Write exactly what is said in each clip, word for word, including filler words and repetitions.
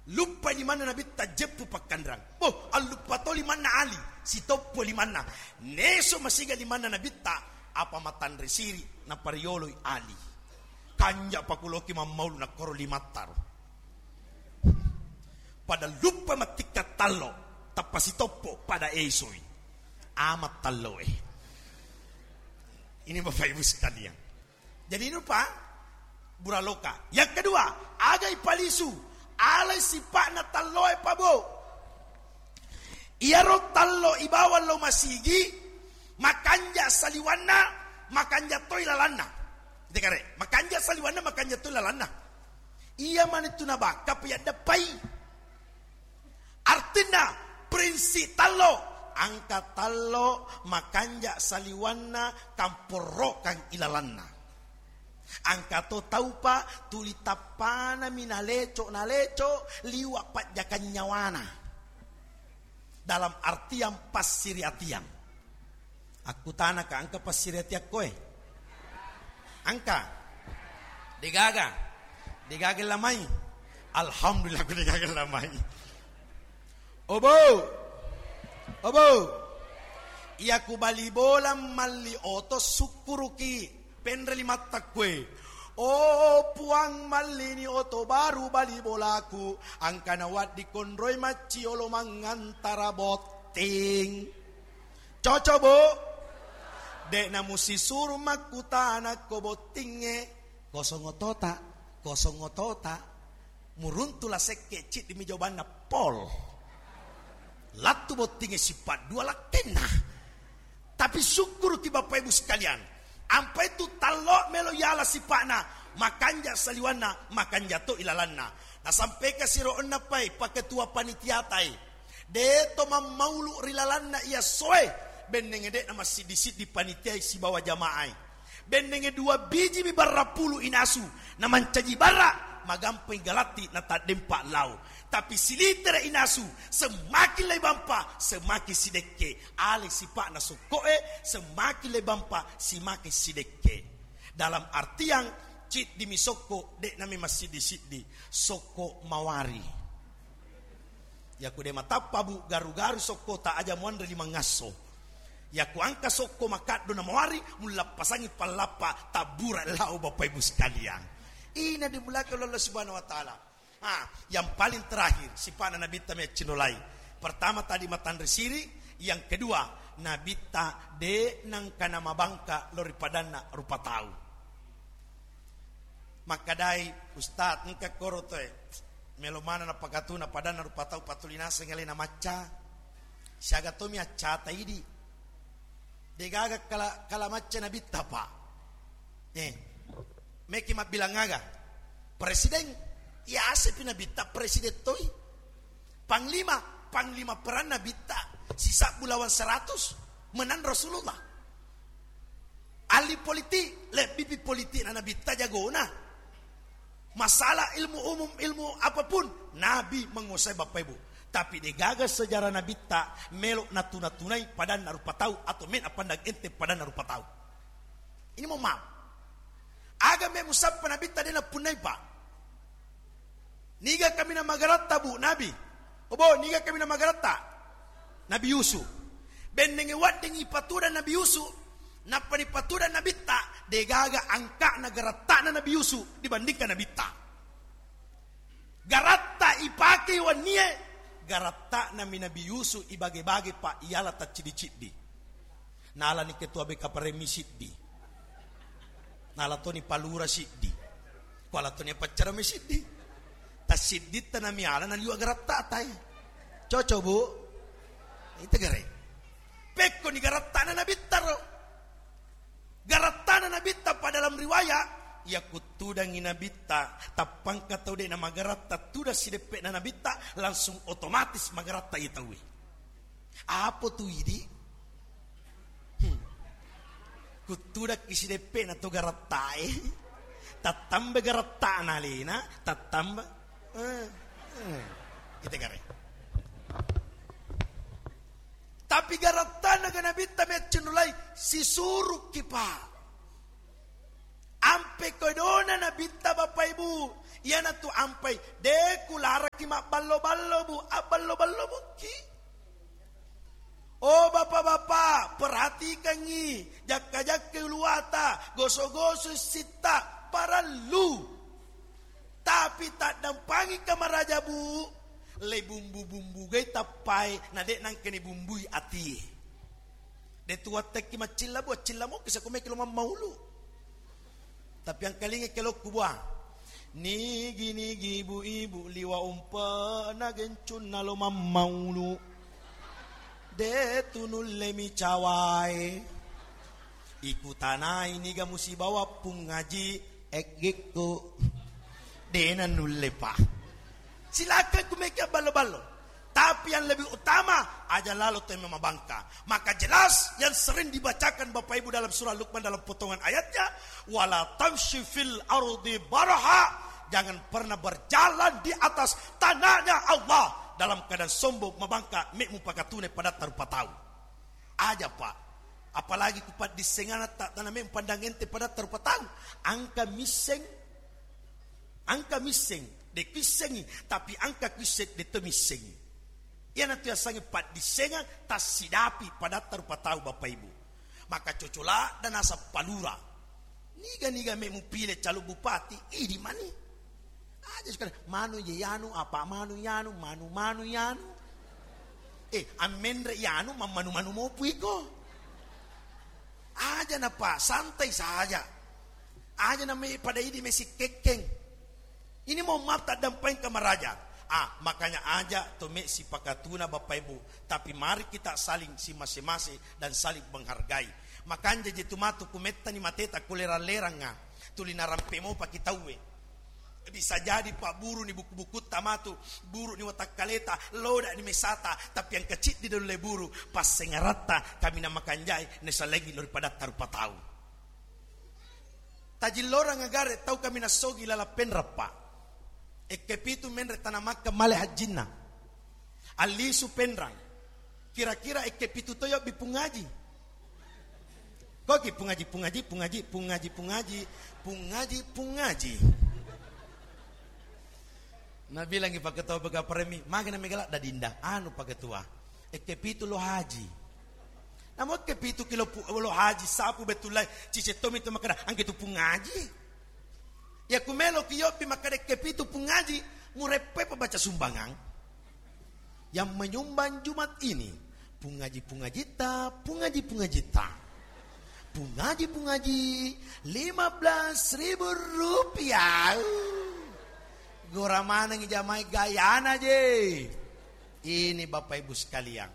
Luppai limanna Nabitta jeppu pakkanrang. Boh, alluppa to limanna Ali, sitoppo limanna. Neso masiga limanna Nabitta, apa matanre siri, naparioloi Ali. Kanja pakuloki mammaulu nakkoro limattaro. Pada luppa mattikka tallo, tappa sitoppo pada esoi. Amat talloe. Ini Bapak Ibu sekalian. Jadi ini rupa buraloka. Yang kedua, aga ipalisu, alai sipa'na talloe pabo. Iyaro tallo ibawa lo masigi, makanja saliwanna, makanja toi lalanna. Dekare, makanja saliwanna, makanja toi lalanna. Iya manitu nabakka piyaddepai. Artinna, prinsip tallo, angka tallo makanja saliwanna, kamporrokang ilalanna. Angka to taupa tuli tappanami naleco-naleco liwa pajjakang nyawana. Dalam artian passiriatian. Akkutanaka, engka passiriatiakkoe? Engka? Degaga? Degaga lamai? Alhamdulillah, ku degaga lamai. Obo! Obo! Iya ku bali bola malli oto sukkuruki. Penre limatta kue. Oh Puang, mallini oto baru bali bolaku. Angkana waddi konroi macciolo mangantara botting. Cocok, Bu? De'na musisuru makkutana ko bottingnge, kosong otota, kosong otota. Muruntu la sekke, ciddi mi jawabanna, pol. Lattu bottingnge sipa dua lakkenna. Tapi sukkuruki Bapak Ibu sekalian, ampai tu tallo melo yala sipa'na, makanja saliwanna, makanja to ilalanna. Nasampeka siro onna pai, paketua panitiatai. De to mammaulu ri lalanna iya soe, bennenge de'na massiddi-siddi panitiai sibawa jamaai. Bennenge dua biji mi barra pulu inasu, na mancaji barra, magampai galatti na taddempa lao. Tapi silitere inasu, semakin lai bampa, semakin sidekke. Ale sipa'na sokko'e, semakin lai bampa, semakin sidekke. Dalam artian, ciddi mi sokko, de'na mi massiddi-siddi, sokko mawari. Yaku de matappa, Bu, garu-garu sokkota aja muanre limangngasso. Yaku angka sokko makaddo na mawari, mullappasangi pallappa tabbura lao, Bapak Ibu sekalian. Ina dimulakan Allah Subhanahu wa Ta'ala. Ah, yang paling terakhir, sipa'na Nabitta meccinolai. Pertama tadi matanre siri, yang kedua, Nabitta de nangkana mabangka lo ri padanna rupa tau. Makkadai, "Ustaz, engka koro toe melo maneng napakatuna padanna rupa tau, patuli naseng alena macca. Siaga tomi accata idi. Degaga kala, kala macca Nabitta, Pak." Eh, meki mabbilang aga? Presiden, iya asepi Nabitta presiden toi. Panglima, panglima perang Nabitta, sisabbu lawan seratus, menang Rasulullah. Ahli politik, lebbipi politik na Nabitta jagona. Masalah ilmu umum, ilmu apapun, Nabi menguasai, Bapak Ibu. Tapi degaga sejarah Nabitta melo natuna-tunai padanna rupa tau atau men apandang enteng padanna rupa tau. Ini mohon maaf. Aga me musappa Nabitta de napunnai, Pak? Niga kaminang magaratta, Bu, Nabi? Obo, niga kaminang magaratta? Nabi Yusuf. Bennenge wedding ipatudang Nabi Yusuf, nappa nipatudang Nabitta, degaga angka'na garatta'na Nabi Yusuf dibandingkan Nabitta. Garatta ipake wennie, garatta'nami Nabi Yusuf ibage-bage, Pak, iyala tacciddi-ciddi. Nalani ketua B K P R M siddi. Nala toni palura siddi. Kuala toni paccarame siddi. Tassidditta namiala naliwa garatta'ta e. Cocok, Bu? Itu gare. Pekkoni garatta'na Nabitta ro. Garatta'na Nabitta pa dalam riwayat, iya kuttudangi Nabitta, tappangka tau de namagaratta tudang sideppe'na Nabitta, langsung otomatis magaratta iya tauwe. Apo tu idi? Hmm. Kuttudakki sideppe'na to garattae. Tattamba garatta'na alena, tattamba. Eh, eh. Ite gare. Tapi garatta'na ga Nabitta meccenulai, sisurukki, Pak. Ampe kodona Nabitta, Bapak Ibu, Iyanatu ampai, de' kularaki mabballo-ballo, Bu, abballo-ballo bukki. Oh, Bapak-bapak, perhatikangngi, jakka-jakkai uluwata, goso-goso sitta, parellu. Tapi taddampangi kamaraja, Bu, le bumbu-bumbu gai tappai, na de' nangkani bumbui atie. De' tu wattekki maccilla, Bu, accilla moki sakumeki lo mammaulu. Tapi angkalinga kelokku, bua. Nigi-nigi ibu-ibu liwa umpe'na gencunna lo mammaulu. De' tu nulle micawae. Ikutanai niga musibawa Pung Aji eggekku. De' na nulle, Pak. Silakan kumeki abballo-ballo. Tapi yang lebih utama, aja lalo to memabangka. Maka jelas yang sering dibacakan Bapak Ibu dalam surah Luqman dalam potongan ayatnya, "Wala tamshi fil ardi maraha." Jangan pernah berjalan di atas tanahnya Allah dalam keadaan sombong, mabangka, me' mupakatune padatta rupa tau. Aja, Pak. Apalagi ku paddissengana ta-, tana me' pandang ente padatta rupa tau. Engka misseng, engka misseng, de' kuissengi, tapi engka kuisseng, de' to missengi. Iyanatu yasengnge paddissengang tassidapi padatta rupa tau, Bapak Ibu. Maka cocola da naseng palura. Niga-niga me' mupile calon bupati, idi mani. Aja sekarang, manu je yanu, apa manu yanu, manu-manu yanu. Eh, ammenre yanu, mammanu-manu mopu iko. Aja napa, santai saja. Aja na me' pada idi me' sikkekkeng. Ini mau maaf taddampai kamaraja. Ah, makanya aja to me' sipakatuna Bapak Ibu. Tapi mari kita saling simase-mase dan saling menghargai. Makanja je tu matu kumettani mateta kulerang-lerangnga. Tuli narampe mopa ki tauwe. Bisa jadi, Pak, buru ni buku-bukutta matu, buru ni watakkaleta, loda ni mesata, tapi yang kecil di dalam buru, passengaratta, kami nama kanjai, nesalengi lori padatta rupa tau. Tajillorang agare tau kami nasogi lala penrappa. Ekke pitu menre tanamakka male hajjinna. Allisu penrang. Kira-kira ekke pitu toyo bi Pung Aji. Koki Pung Aji, Pung Aji, Pung Aji, Pung Aji, Pung Aji, Pung Aji, Pung Aji. Nabilangi paketua bega paremi, magana megala dadinda, anu paketua. Ekke pitu lo haji. Namo ekke pitu kilo pu-, lo haji sapu betullai, cicettomi tu makada, angke tu Pung Aji. Ya kumelo ki yobbi makada ekke pitu Pung Aji, mureppe pa baca sumbangang. Yang menyumbang Jumat ini, Pung Aji, Pung Ajita, Pung Aji, Pung Ajita. Pung Aji, Pung Aji, lima belas ribu rupiah. Gora maneng jamai gayana je. Ini Bapak Ibu sekalian.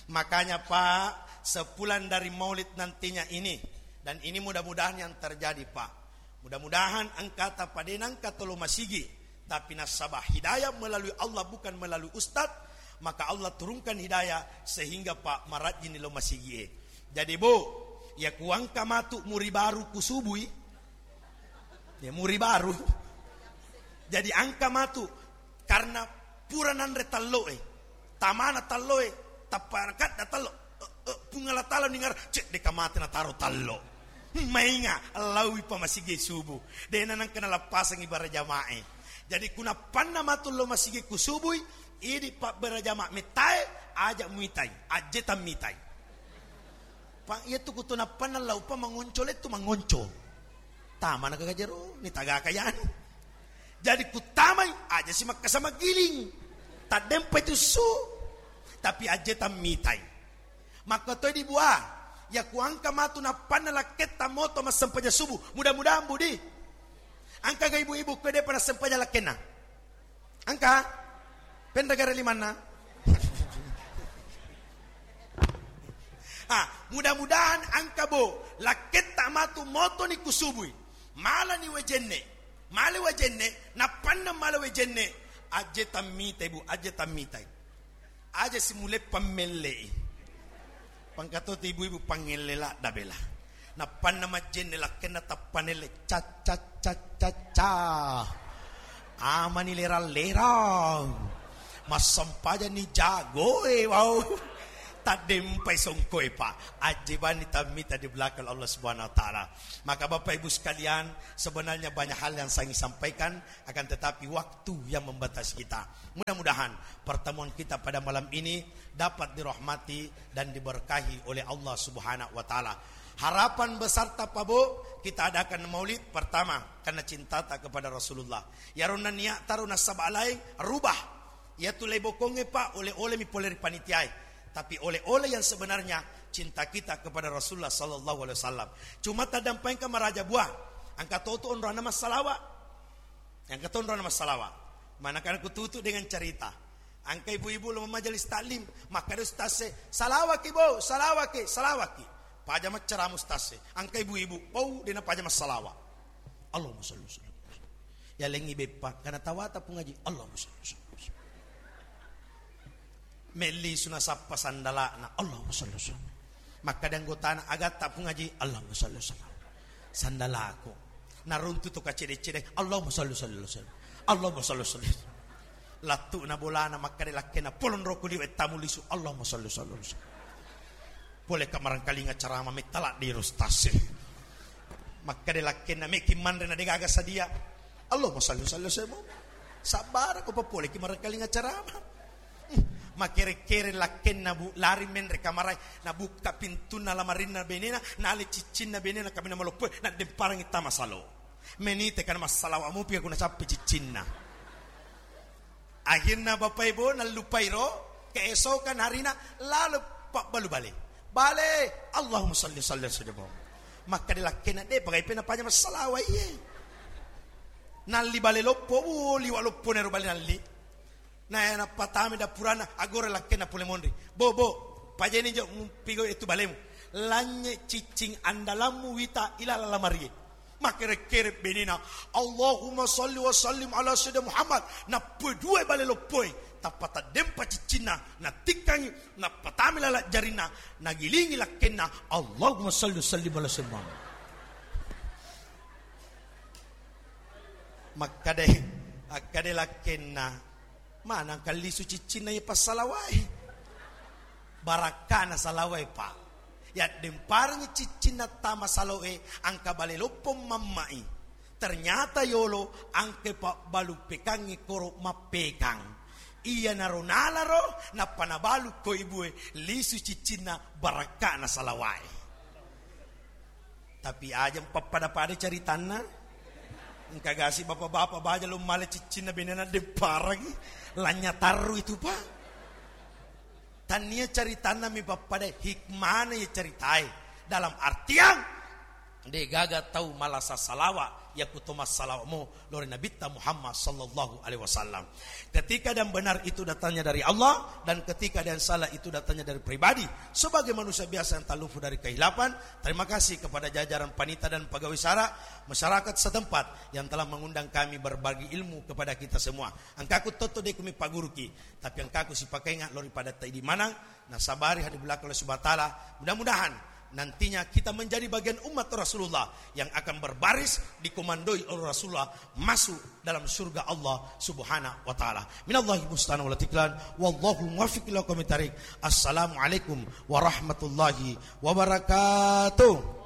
Makanya, Pak, sepulang dari Maulid nantinya ini, dan ini mudah-mudahan yang terjadi, Pak. Mudah-mudahan engkata padena engka tolo masigi, tapi nasaba hidayah melalui Allah bukan melalui ustad, maka Allah turunkan hidayah sehingga, Pak, marajini lo masigi e. Jadi, Bu, ya kuangka matu muri baru kusubui, ya muri baru. Jadi angka matu karena pura nanre talloe, tamana talloe, tappa kadda tallo. Eh, eh, Puang Allah Taala ningar, cek deka mate nataro tallo. Mainga, lawi pa masigi subuh. Dena nangka nalappasangi bara jamae. Jadi kunappanna matu lo masigi ku subui, idi pa bara jama metae, aja muitai, ajje tammitai. Pa iya tu kutu nappanna laupa mangonco lettu mangonco. Tama na kagajero ni tagaka yanu. Jadi kutamai aja si makkasa magiling. Taddempa itu su. Tapi ajje tammitai. Makkatoi di bua. Ya kuangka matu nappanna lakketta moto massempajang subuh. Mudah-mudahan budi. Angka ga ibu-ibu kue depa nassempajang lakkenna. Angka? Penragara limanna? Ah, mudah-mudahan angka bo, lakketta matu motoni kusubui. Malani wajenne. Male wajenne, nappanna male wajenne. Ajje tammitai, Bu, ajje tammitai. Aja simule pammellei. Pangkato tu ibu-ibu pangelle ladda bela. Nappanna majjenne lakkenna tappanelle ca ca ca ca ca. Amani lerang-lerang. Massampajani jagoe wau. Taddempai songkoe, Pak. Ajjebani tammita di belakang Allah Subhanahu wa Ta'ala. Maka, Bapak Ibu sekalian, sebenarnya banyak hal yang saya ingin sampaikan, akan tetapi waktu yang membatasi kita. Mudah-mudahan pertemuan kita pada malam ini dapat dirahmati dan diberkahi oleh Allah Subhanahu wa Ta'ala. Harapan besarta, Pak Bu, kita adakan maulid pertama karena cintata kepada Rasulullah. Iyaro nennia taro nasaba lain, rubah. Iyatu lebokongnge, Pak, oleh-oleh mi pole ri panitiae. Tapi oleh-oleh yang sebenarnya cinta kita kepada Rasulullah sallallahu alaihi wasallam. Cuma taddampaengka maraja buah. Engka to tu onronna massalawa. Engka to onronna massalawa. Mana kan aku tutup dengan cerita. Engka ibu-ibu lo majelis taklim, makkeda ustaz e, "Salawaki, Bu, salawaki, salawaki." Paja maccarama ustaz e. Engka ibu-ibu, pau dena paja massalawa. Allahumma salli wa sallim. Yalengngi beppa, kana tawata Pung Aji, Allahumma salli wa sallim. Melli suna sappa sandalana, Allahumma salli wa sallim. Makkada anggotana, "Agatta Pung Aji?" Allahumma salli wa sallim. Sandalaku. Naruntu to kacede-cede, Allahumma salli wa sallim. Allahumma salli wa sallim. Lattu na bolana, makkada lakkenna, "Polong roko liwe tamu lisu." Allahumma salli wa sallim. Pole ka marangkalinga carama, metta ladde ro ustaz e. Makkada lakkenna, "Meki manre na degaga sadia." Allahumma salli wa sallim. Sabbara ko papole ki marangkalinga carama. Hmm, makere-kere lakkenna, Bu, lari menre kamarai, nabukka pintunna lamarinna benena, nale ciccinna benena, kamina maloppoe, naddemparangi tama salo. Menite kana massalawa mupi aku nacappi ciccinna. Akhirna Bapak Ibu nallupai ro, keesokan harina lalo pabbalu bale. Bale, Allahumma salli, salli, salli. Makkada lakkenna, "De, pagai pena paja massalawa iye." Nalli bale loppo, wo, liwa loppo nero bale nalli. Na, nappatami dapurana, agora lakkenna pole monri. "Bo, bo, pajani jo mupigau itu balemu." Lanye ciccing andalammu wita ilala lamarie. Makere-kere benena, "Allahumma salli wa sallim ala sayyidina Muhammad." Nappue dua bale loppoe, tappa taddempa ciccinna, natikkangi, nappatami lala jarinna, nagilingi lakkenna, "Allahumma salli wa sallim ala sayyidina Muhammad." Makkade, akkade lakkenna, "Manang kallisu ciccinna iya passalawae?" Barakkana salawae, Pak. Yaddemparengngi ciccinna tama saloe, angka bale loppo mamma'i. Ternyata yolo angke pabbalu pekangnge koro mappekang. Iyanaro nalaro, nappa nabalu ko ibue, lisu ciccinna barakkana salawae. Tapi aja pappada-pada caritanna. Engka gasi bapak-bapak baja lo male ciccinna benena demparangi. Lanya tarru itu, Pak. Tania caritanna mi pappada hikmana ya caritai. Dalam artian, de gaga tau malasa salawa, yaku to massalawa mo lori Nabitta Muhammad sallallahu alaihi wasallam. Ketika yang benar itu datangnya dari Allah, dan ketika yang salah itu datangnya dari pribadi. Sebagai manusia biasa yang tak luput dari kehilapan, terima kasih kepada jajaran panitia dan pegawai sara, masyarakat setempat yang telah mengundang kami berbagi ilmu kepada kita semua. Engkaku toto de kumi paguruki, tapi engkaku sipakainga lori pada taidi manang, nasabari hadi belakang Allah Subhanahu wa Ta'ala. Mudah-mudahan nantinya kita menjadi bagian umat Rasulullah yang akan berbaris dikomandoi oleh Rasulullah masuk dalam surga Allah Subhanahu wa Ta'ala. Minallahi musta'an wal tiklan, wallahu muwaffiq ila aqwamit thariq. Assalamualaikum warahmatullahi wabarakatuh.